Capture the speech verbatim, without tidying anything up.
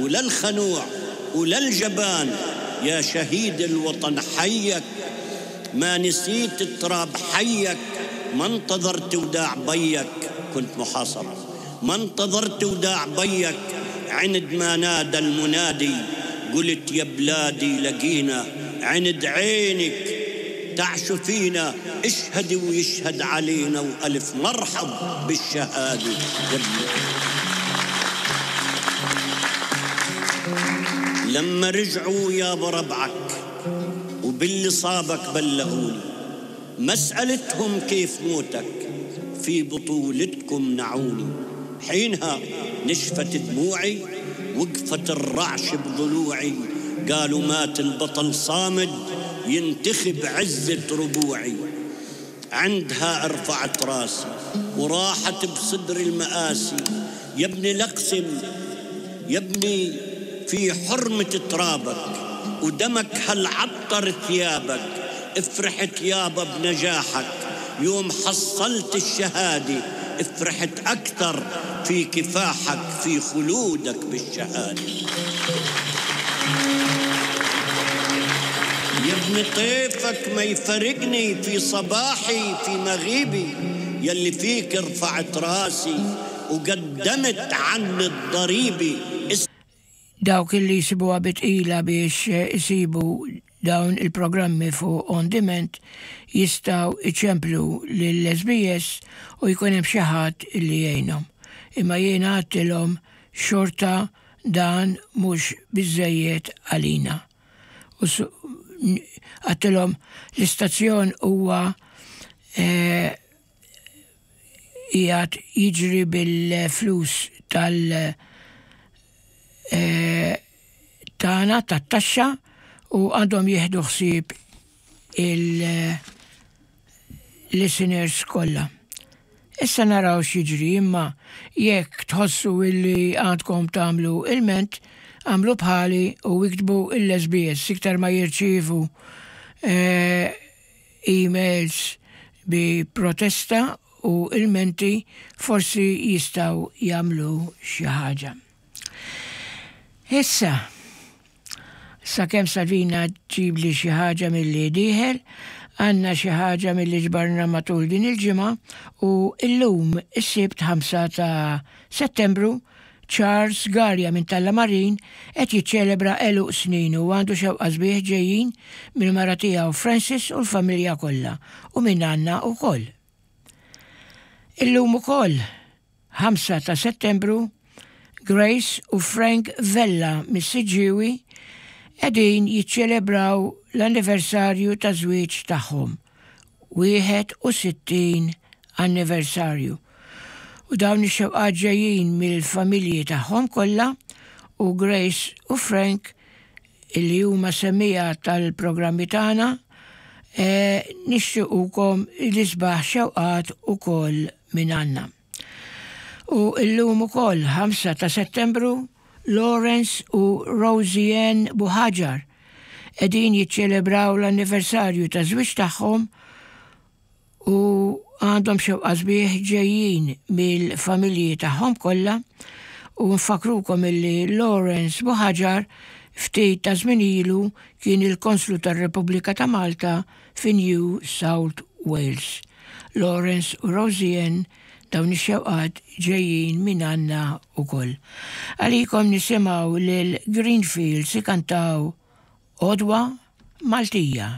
ولا الخنوع ولا الجبان. يا شهيد الوطن حيك، ما نسيت التراب حيك، ما انتظرت وداع بيك، كنت محاصر، ما انتظرت وداع بيك. عند ما نادى المنادي قلت يا بلادي لقينا، عند عينك تعشو فينا، اشهد ويشهد علينا، وألف مرحب بالشهادة. لما رجعوا يا بربعك وباللي صابك بلغوني، مسألتهم كيف موتك في بطولتكم نعوني. حينها نشفت دموعي وقفت الرعش بضلوعي، قالوا مات البطل صامد ينتخب عزة ربوعي. عندها ارفعت راسي وراحت بصدر المآسي، يا ابني لقسم يا ابني في حرمة ترابك، ودمك هالعطر ثيابك. افرحت يابا بنجاحك يوم حصلت الشهادة، افرحت أكثر في كفاحك في خلودك بالشهادة. يا ابن طيفك ما يفرقني في صباحي في مغيبي، يلي فيك رفعت راسي وقدمت عن الضريبي. Dawk illi jsibuha bitqila biex isibu dawn il-programmi fuq on demand jistgħu iċemplu lill-S B S u jkun hemm xi ħadd illi jgħinhom. Imma jiena għedtilhom xorta dan mhux biżżejjed għalina. U għedtilhom l-istazzjon huwa qiegħed jiġri bil-flus tal- tagħna tat-taxxa u għandhom jieħdu ħsieb il-listeners kollha. Issa naraw x'jiġri, imma jekk tħossu illi għandkom tagħmlu ilment, għamlu bħali u iktbu l-S B S. Iktar ma jirċievu emails bi protesta u ilmenti, forsi jistgħu jagħmlu xi ħaġa. Issa, sakemm Salvina ġibli xi ħaġa milli dieħel, għandna xi ħaġa milli ġbarna matul din il-ġimgħa u illum is-Sibt ħamsa ta' Settembru Charles Garja minn Tallamarin qed jiċċelebra għeluq snin u għandu xewqa sbieħ ġejjin mill-mara tiegħu Francis u l-familja kollha u minn għandna wkoll. Illum ukoll ħamsa ta' Settembru Grace u Frank Vella mis-Siġġiewi qegħdin jiċċelebraw l-anniversarju ta' żwieġ tagħhom, wieħed u sittin anniversarju. U dawn ix-xewqat ġejjin mill-familji tagħhom kollha u Grace u Frank illi huma semmija tal-programmi tagħna, nixtiequkom l-isbaħ xewqat ukoll minn għandna. U illum ukoll ħamsa ta' Settembru Lawrence u Rosie Ann Buhaġar qegħdin jiċċelebraw l-anniversarju ta' żwieġ tagħhom u għandhom xewqa sbieħ ġejjin mill-familji tagħhom kollha u nfakrukom illi Lawrence Buhaġar ftit ta' żmien ilu kien il-Konslu tar-Repubblika ta' Malta fi New South Wales. Lawrence u Rosie Ann dawn ix-xewqat ġejjin minn għandna wkoll. Għalikom nisimgħu lil Greenfields ikantaw Għodwa Maltija.